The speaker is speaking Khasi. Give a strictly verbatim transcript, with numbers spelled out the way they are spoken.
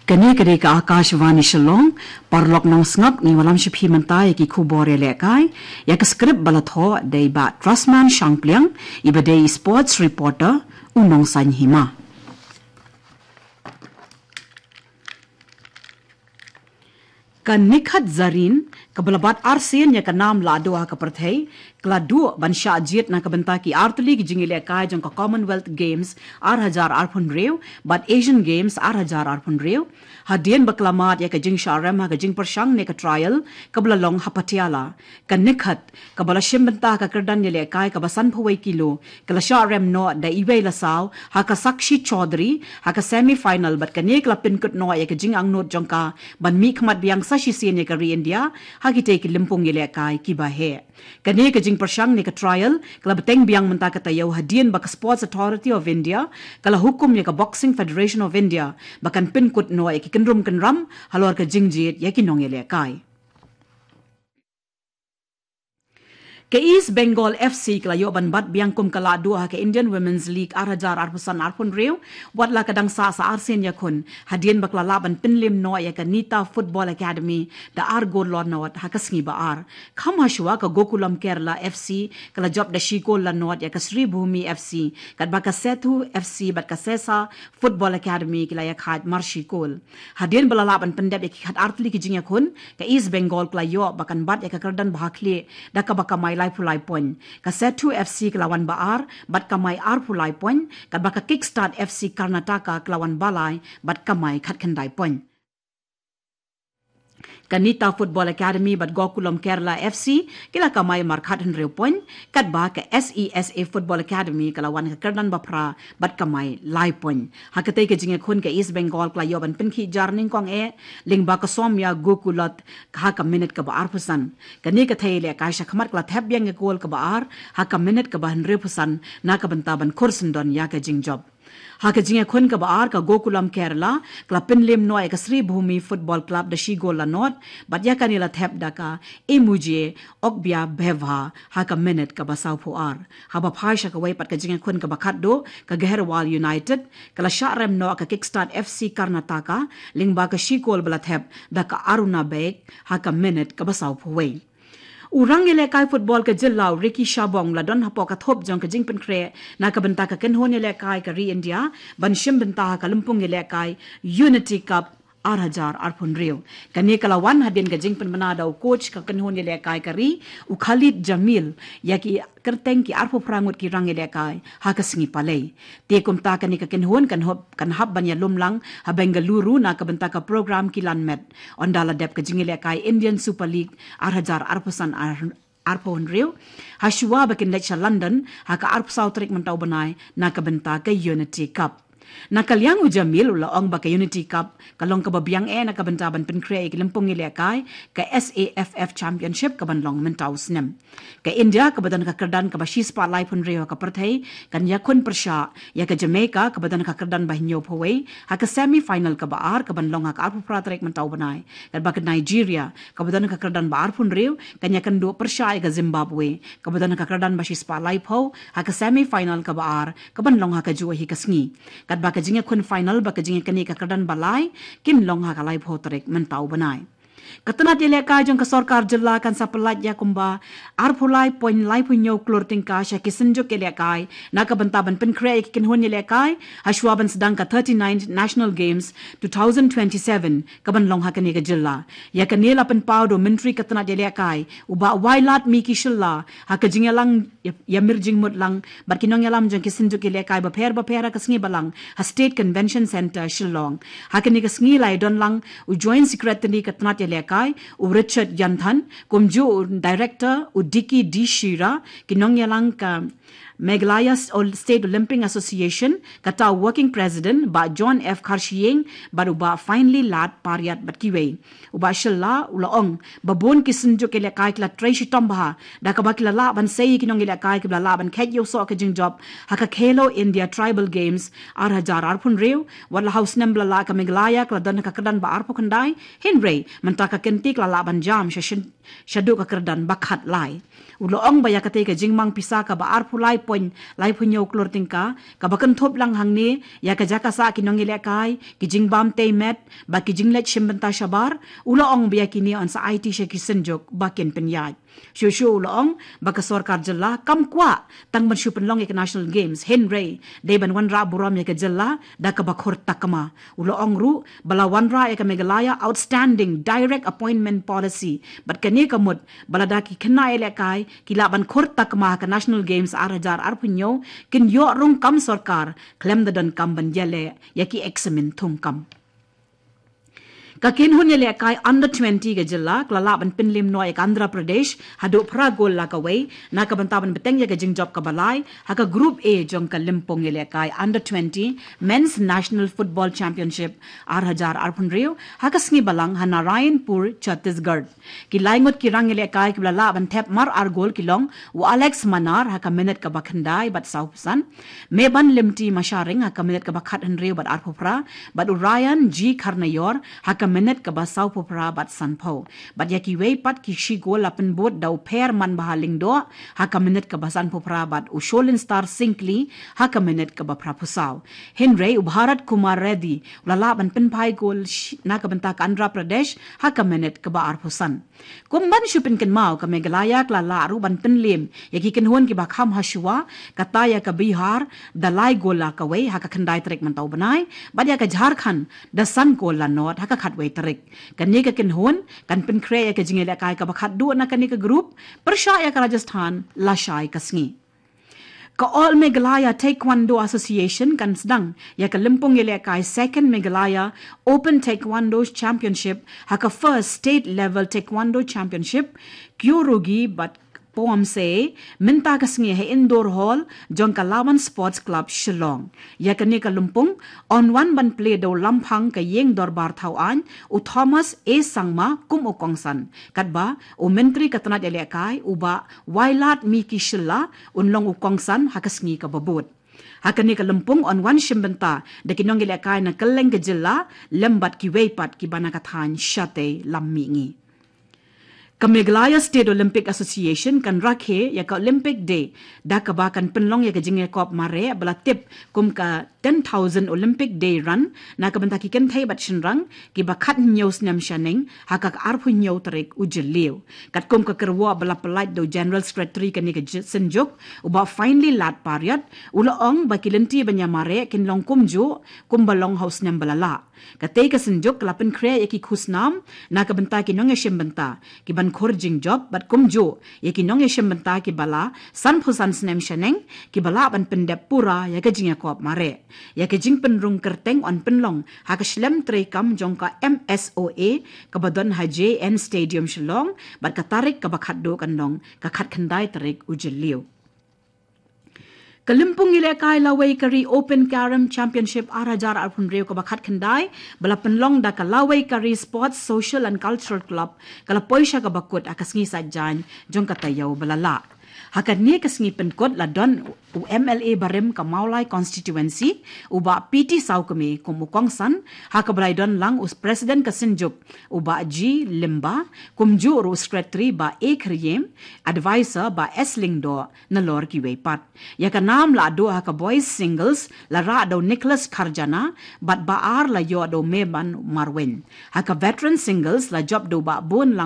Kane ka dei ka Akashvani Shillong, paralok nongsngap, ngi wallam sha phi mynta ïa ki khubor ïalehkai, ïa ka script ba la thoh da i Bah Trustman Shangpliang, iba dei i sports reporter, u Nongsaiñ Hima. Ka Nikhat Zareen, kaba la bat arsien ïa ka nam lahduh ha ka pyrthei, ka la duh ban shah jied na ka bynta ki artylli ki jingïalehkai jong ka Commonwealth Games ar hajar arphew hynriew, bad Asian Games ar hajar arphew hynriew, hadien ba ka la mad ïa ka jingshah rem ha ka jingpyrshang ne ka trial, kaba la long ha Patiala. Ka Nikhat, kaba la shim bynta ha ka kyrdan ïalehkai kaba sanphew wei kilo, ka la shah rem noh da iwei la saw, ha ka Sakshi Chaudhary, ha ka semi final bad kane ka la pynkut noh ïa ka jingangnud jong ka, ban mihkhmat biang sa shisien ïa ka ri India, ha kitei ki lympung ïalehkai kiba heh. Kane ka jingpyrshang ne ka trial, ka la bteng biang mynta ka taïew hadien ba ka Sports Authority of India, ka la hukum ïa ka Boxing Federation of India, ba kan pynkut noh ïa ki kynrum kynram, halor ka jingjied ïa ki nongïalehkai. Ka East Bengal F C ka la ïoh ban bat biang kum ka lahduh ha ka Indian Women's League ar hajar arphew san arphew hynriew, wat la ka dang sah sa arsien ïakhun, hadien ba ka la lah ban pynliem noh ïa ka Nita Football Academy, da ar gol la nod ha ka sngi ba ar. Kham hashwa ka Gokulam Kerala F C, ka la jop da shi gol la nod ïa ka Sribhumi F C, katba ka Sethu F C bad ka Sesa Football Academy ki la ïakhaid mar shi gol. Hadien ba la lah ban pyndep ïa ki khat artylli ki jingïakhun, ka East Bengal ka la ïoh ba kan bat ïa ka kyrdan ba ha khlieh, da kaba kamai laiphew lai point. Ka Sethu F C ka la wan ba ar, bad kamai arphew lai point, katba ka Kickstart F C Karnataka ka la wan ba lai, bad kamai khatkhyndai point. Ka Nita Football Academy bad Gokulam Kerala F C, ki la kamai markhat hynriew point, katba ka S E S A Football Academy ka la wan ka kyrdan ba phra, bad kamai lai point. Ha katei ka jingïakhun ka East Bengal ka la ïoh ban pynkhih jar nyngkong eh, lyngba ka Soumya Gokulat, ha ka minit kaba arphew san. Kane ka thei ïalehkai shakhmat ka la thep biang ïa ka gol kaba ar, ha ka minit kaba hynriewphew san, na ka bynta ban khur syndon ïa ka jingjop. Ha ka jingïakhun kaba ar ka Gokulam Kerala, ka la pynliem noh ïa ka Sribhumi Football Club da shi gol la nod, bad ïa kane la thep da ka Emuje Okbia Bevha, ha ka minit kaba sawphew ar. Haba phai sha kawei pat ka jingïakhun kaba khatduh, ka Gaherwal United, ka la shah rem noh ka Kickstart F C Karnataka, lyngba ka shi gol ba la thep, da ka Aruna Bek, ha ka minit kaba sawphew wei. U rang ïalehkai football ka jylla u Ricky Shabong la don hapoh ka thup jong ka jingpynkhreh, na ka bynta ka kynhun ïalehkai ka ri India, ban shim bynta ha ka lympung ïalehkai Unity Cup ar hajar arphew hynriew. Kane ka la wan hadien ka jingpynbna da u coach ka kynhun ïalehkai ka ri, u Khalid Jamil, ïa ki kyrteng ki arphew phra ngut ki rang ïalehkai, ha ka sngi Palei. Te kumta kane ka kynhun kan hap, kan hap ban ïalum lang, ha Bengaluru na ka bynta ka program Kylla'n Met. Ynda la dep ka jingïalehkai Indian Super League ar hajar arphew san ar, arphew hynriew. Hashwa ba kin leit sha London, ha ka arphew saw tarik mynta u bnai, na ka bynta ka Unity Cup. Na ka liang u Jamil u la ong ba ka Unity Cup, ka long kaba biang eh na ka bynta ban pynkhreh ïa ki lympung ïalehkai, ka S A F F Championship kaban long mynta u snem. Ka India kaba don ka kyrdan kaba shispah laiphew hynriew ha ka pyrthei, kan ïakhun pyrshah, ïa ka Jamaica kaba don ka kyrdan ba hynñiewphew wei, ha ka semi final kaba ar kaban long ha ka arphew phra tarik mynta u bnai. Katba ka Nigeria, kaba don ka kyrdan ba arphew hynriew, kan ïakynduh pyrshah ïa ka Zimbabwe, kaba don ka kyrdan ba shispah laiphew, ha ka semi final kaba ar, kaban long ha kajuh hi ka sngi. Katba ka jingïakhun final bad ka jingïakynduh ka kyrdan ba lai, kin long ha ka laiphew tarik mynta u bnai. Ka tnat ïalehkai jong ka sorkar jylla kan sa pyllait ïa kumba arphew lai point laiphew hynñiew klur tyngka sha ki synjuk ïalehkai, na ka bynta ban pynkhreh ïa ki kynhun ïalehkai, hashwa ban sdang ka thirty-ninth National Games two thousand twenty-seven, kaban long ha kane ka jylla. Ïa kane la pynpaw da u Myntri ka tnat ïalehkai, u Bah Wailadmiki Shylla, ha ka jingïalang ïa, ïa mir jingmut lang, bad ki nongïalam jong ki synjuk ïalehkai bapher bapher ha ka sngi balang, ha State Convention Centre, Shillong. Ha kane ka sngi la ïadon lang, u Joint Secretary ka tnat ïalehkai, u Richard Yanthan, kumjuh u Director, u Dicky D Shira, ki nongïalang ka Meghalaya State Olympic Association, kata u Working President, Bah John F Kharshiing, bad u Bah Finely Lad Pariat bad kiwei. U Bah Shylla, u la ong, ba bun ki synjuk ïalehkai ki la trei shitom bha, da kaba ki la lah ban sei ïa ki nongïalehkai kiba la lah ban kheit ïa u soh ka jingjop, ha ka Khelo India Tribal Games, ar hajar arphew hynriew, wat la ha u snem ba la lah ka Meghalaya ka la don ha ka kyrdan ba arphew khyndai, hynrei, mynta ka kynti ka la lah ban jam, sha shin, shaduh ka kyrdan ba khatlai. U la ong ba ïa katei ka jingmang pisa kaba arphew lai point lai phew hynñiew klur tyngka, kaba kynthup lang hangne ïa ka jaka sah ki nongïalehkai, ki jingbam tei met bad ki jingleit shim bynta shabar, u la ong ba ïa kine yn sa aiti sha ki synjuk ba kin pynïaid. Shuh shuh u la ong ba ka sorkar jylla kam kwah tang ban shu pynlong ïa ka National Games, hynrei dei ban wanrah burom ïa ka jylla da kaba khur takma. U la ong ruh ba la wanrah ïa ka Meghalaya Outstanding Direct Appointment Policy bad kane ka mut ba lada ki khynnah ïalehkai ki lah ban khur takma ha ka National Games ar hajar arphew hynñiew, kin ïoh rung kam sorkar khlem da donkam ban ïaleh ïa ki eksamin thungkam. Ka kynhun ïalehkai under twenty ka jylla ka la lah ban pynliem noh ïa ka Andhra Pradesh haduh phra gol la kawei, na ka bynta ban bteng ïa ka jingjop kaba lai ha ka Group A jong ka lympung ïalehkai under twenty Men's National Football Championship ar hajar arphew hynriew ha ka sngi Balang ha Narayanpur, Chhattisgarh. Ki lai ngut ki rang ïalehkai kiba la lah ban thep mar ar gol ki long u Alex Manar ha ka minit kaba khyndai bad sawphew san, Meban Limti Masharing ha ka minit kaba khathynriew bad arphew phra, bad u Ryan G Kharnaior ha ka minit kaba sawphew phra bad sanphew. Bad ïa kiwei pat ki shi gol la pynbud da u Phermanbha Lyngdoh ha ka minit kaba sanphew phra bad u Sholinstar Syngkli ha ka minit kaba phraphew saw. Hynrei u Bharat Kumar Reddy u la lah ban pynphai gol sh-, na ka bynta ka Andhra Pradesh ha ka minit kaba arphew san. Kum ban shu pynkynmaw, ka Meghalaya ka la lah ruh ban pynliem ïa ki kynhun kiba kham hashwa, kata ïa ka Bihar da lai gol la kawei ha ka khyndai tarik mynta u bnai, bad ïa ka Jharkhand da san gol la nod ha ka khatwei tarik. Kane ka kynhun kan pynkhreh ïa ka jingïalehkai kaba khatduh na kane ka group, pyrshah ïa ka Rajasthan lashai ka sngi. Ka All Meghalaya Taekwondo Association kan sdang ïa ka lympung ïalehkai Second Meghalaya Open Taekwondo Championship ha ka First State Level Taekwondo Championship, Kyorugi bad Poamse, mynta ka sngi ha Indoor Hall jong ka Lawan Sports Club Shillong. Ïa kane ka lympung yn wan ban plie da u Lamphang ka Ïing Dorbar Thawaiñ, u Thomas A Sangma kum u kongsan, katba u Myntri ka tnat ïalehkai u Bah Wailadmiki Shylla un long u kongsan ha ka sngi kaba bud. Ha kane ka lympung yn wan shim bynta da ki nongïalehkai na kylleng ka jylla lem bad kiwei pat kiba na ka thaiñ shatei lam mihngi. Ka Meghalaya State Olympic Association kan rakhe ïa ka Olympic Day da kaba kan pynlong ïa ka jingïakop mareh ba la tip kum ka ten thousand Olympic Day Run na ka bynta ki kynthei bad shynrang kiba khathynñiew snem shaneng ha ka arphew hynñiew tarik u Jylliew. Katkum ka kyrwoh ba la pyllait da u General Secretary kane ka j-, synjuk, u Bah Finely Lad Pariat, u la ong ba ki lynti ban ïamareh kin long kumjuh kumba long ha u snem ba la lah. Katei ka synjuk ka la pynkhreh ïa ki khusnam na ka bynta ki nongïashim bynta kiban khur jingjop bad kumjuh ïa ki nongïashim bynta kiba la sanphew san snem shaneng kiba lah ban pyndep pura ïa ka jingïakop mareh. Ïa ka jingpynrung kyrteng yn pynlong ha ka shlem treikam jong ka M S O A kaba don ha J N Stadium Shillong, bad ka tarik kaba khatduh kan long ka khatkhyndai tarik u Jylliew. Ka lympung ïalehkai Lawei Kari Open Carom Championship ar hajar arphew hynriew kaba khatkhyndai ba la pynlong da ka Lawei Kari Sports Social and Cultural Club ka la poi sha kaba kut ha ka sngi Saitjaiñ jong ka taïew ba la lah. Ha kane ka sngi pynkut la don u M L A barim ka Mawlai Constituency, u Bah P T Sawkmie kum u kongsan, ha kaba la ïadon lang u President ka synjuk, u Bah G Lyngba, kumjuh ruh u Secretary Bah A Khyriem, Advisor Bah S Lyngdoh, nalor kiwei pat. Ïa ka nam la duh ha ka boys singles la rah da u Nicholas Kharjana, bad ba ar la ïoh da u Meban Marwein. Ha ka veteran singles la jop da u Bah Bun